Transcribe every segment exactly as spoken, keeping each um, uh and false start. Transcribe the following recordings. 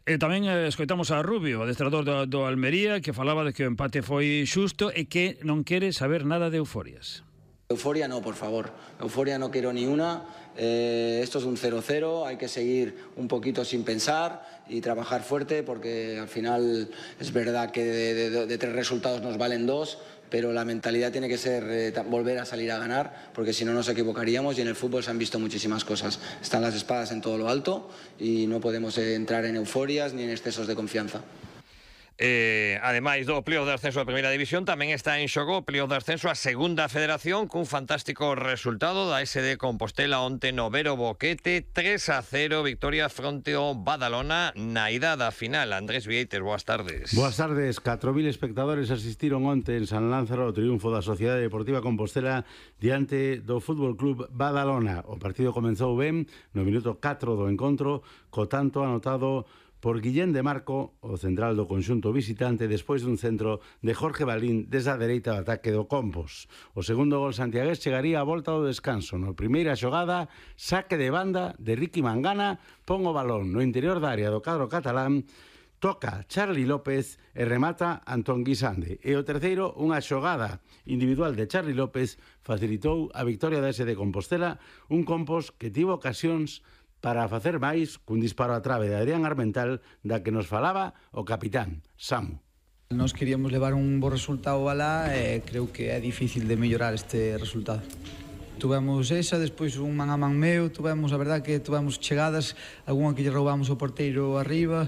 E tamén eh, escoitamos a Rubio, adestrador do, do Almería, que falaba de que o empate foi xusto e que non quere saber nada de euforias. Euforia no, por favor. Euforia no quiero ni una. Eh, esto es un cero cero, hay que seguir un poquito sin pensar y trabajar fuerte, porque al final es verdad que de, de, de tres resultados nos valen dos, pero la mentalidad tiene que ser eh, volver a salir a ganar, porque si no nos equivocaríamos, y en el fútbol se han visto muchísimas cosas. Están las espadas en todo lo alto y no podemos eh, entrar en euforias ni en excesos de confianza. Eh, ademais do pleo de ascenso a Primeira División, tamén está en xogo o pleo de ascenso a Segunda Federación, cun fantástico resultado da S D Compostela onte no Vero Boquete, tres a cero, victoria fronte ao Badalona na ida da final. Andrés Vieites, boas tardes. Boas tardes. catro mil espectadores asistiron onte en San Lázaro ao triunfo da Sociedade Deportiva Compostela diante do Fútbol Club Badalona. O partido comenzou ben no minuto catro do encontro, co tanto anotado por Guillén de Marco, o central do conxunto visitante, despois dun centro de Jorge Balín desde a dereita do ataque do Compos. O segundo gol santiagués chegaría a volta do descanso. No primeira xogada, saque de banda de Ricky Mangana, pon o balón no interior da área do cadro catalán, toca Charly López e remata Antón Guisande. E o terceiro, unha xogada individual de Charly López, facilitou a victoria da S D Compostela, un Compos que tivo ocasións para facer máis cun disparo a trave de Adrián Armental, da que nos falaba o capitán, Samu. Nos queríamos levar un bo resultado alá e creo que é difícil de mellorar este resultado. Tuvemos esa, despois un man a man meu, tuvemos, a verdad que tuvemos chegadas, algunha que lle roubamos o porteiro arriba.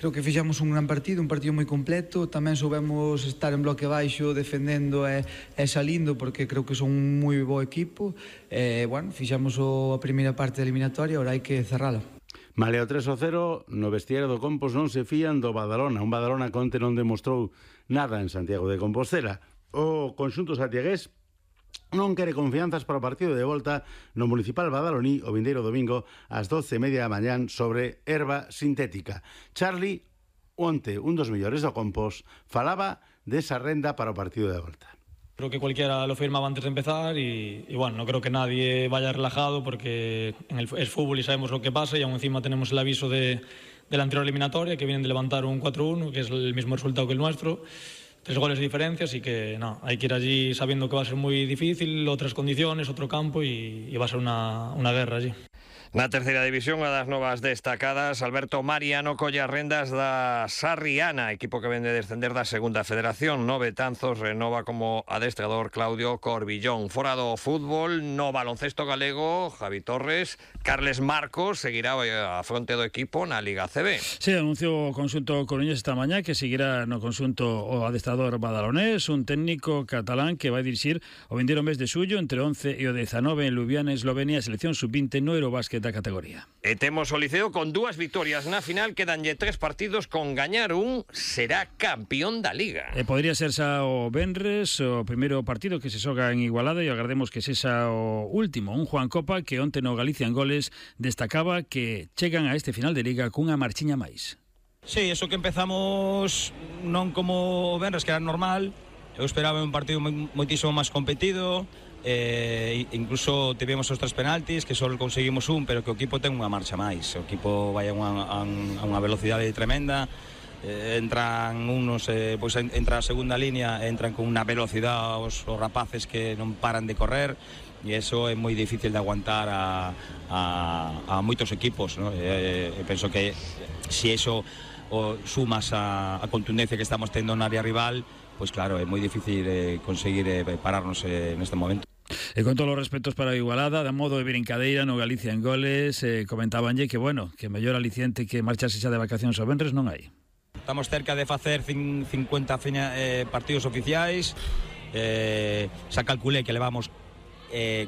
Creo que fixamos un gran partido, un partido moi completo. Tamén soubemos estar en bloque baixo, defendendo e, e salindo, porque creo que son un moi bo equipo. E, bueno, fixamos o, a primeira parte da eliminatoria, ahora hai que cerrala. Maleo tres a cero, no vestiario do Compos non se fían do Badalona. Un Badalona que onte non demostrou nada en Santiago de Compostela. O conxunto santiagués non quere confianzas para o partido de volta no Municipal Badaloní o vindeiro domingo ás doce e media da mañán sobre herba sintética. Charly, onte un dos mellores do Compos, falaba desa renda para o partido de volta. Creo que cualquiera lo firmaba antes de empezar y, y bueno, no creo que nadie vaya relajado porque en el, es fútbol y sabemos lo que pasa, y aún encima tenemos el aviso de, de la anterior eliminatoria, que vienen de levantar un cuatro uno, que es el mismo resultado que el nuestro. Tres goles de diferencia, así que no, hay que ir allí sabiendo que va a ser muy difícil, otras condiciones, otro campo, y, y va a ser una, una guerra allí. Na terceira división, a das novas destacadas, Alberto Mariano colle as rendas da Sarriana, equipo que vende descender da Segunda Federación. No Betanzos renova como adestrador Claudio Corbillón. Fora do fútbol, no baloncesto galego, Javi Torres, Carles Marcos seguirá a fronte do equipo na Liga C B. Sí, anunciou o conxunto coruñés esta mañá que seguirá no conxunto o adestrador badalonés, un técnico catalán que vai dirixir o vindeiro mes de xullo entre once e o dezanove en Ljubljana, Eslovenia, a selección sub vinte no Eurobásquet da categoría. E temos o Liceo con dúas victorias na final, quedanlle tres partidos, con gañar un será campeón da Liga. E podría ser xa o venres o primeiro partido que se xoga en Igualada, e agardemos que sexa o último. Un Juan Copa que onte no Galicia en Goles destacaba que chegan a este final de Liga cunha marchiña máis. Sí, eso que empezamos non como o venres, que era normal. Eu esperaba un partido moitísimo máis competido. Eh, incluso tivemos os tres penaltis, que só conseguimos un, pero que o equipo ten unha marcha máis. O equipo vai a unha, a unha velocidade tremenda. Eh, entran unos, eh, pois entra a segunda línea, entran con unha velocidade os, os rapaces que non paran de correr, e eso é moi difícil de aguantar a, a, a moitos equipos, ¿no? Eh, eh, penso que se eso o sumas a, a contundencia que estamos tendo na área rival, pois claro, é moi difícil eh, conseguir eh, pararnos eh, neste momento. E con todos os respetos para a Igualada, de modo de brincadeira no Galicia en Goles, eh, comentabanlle que, bueno, que mellor aliciente que marcharse xa de vacacións ao venres non hai. Estamos cerca de facer cincuenta fina, eh, partidos oficiais. Eh, xa calculé que levamos eh,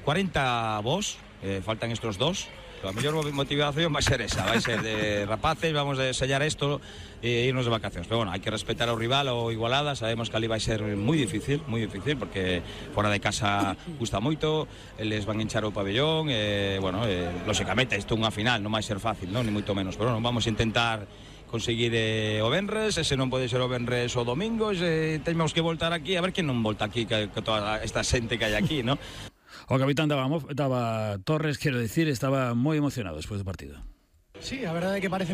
cuarenta vos, eh, faltan estos dos. A mellor motivación vai ser esa, vai ser de rapaces, vamos a sellar isto e irnos de vacacións. Pero bueno, hai que respetar ao rival, ao Igualada, sabemos que ali vai ser moi difícil, moi difícil, porque fora de casa gusta moito, eles van hinchar o pabellón, e, bueno, eh, lóxicamente, isto é unha final, non vai ser fácil, non, ni moito menos, pero bueno, vamos a intentar conseguir eh, o venres, e se non pode ser o venres o domingo, e temos que voltar aquí, a ver quen non volta aquí, que, que toda esta xente que hai aquí, non? O capitán daba, daba Torres, quero decir, estaba moi emocionado despois do partido. Sí, a verdade é que parece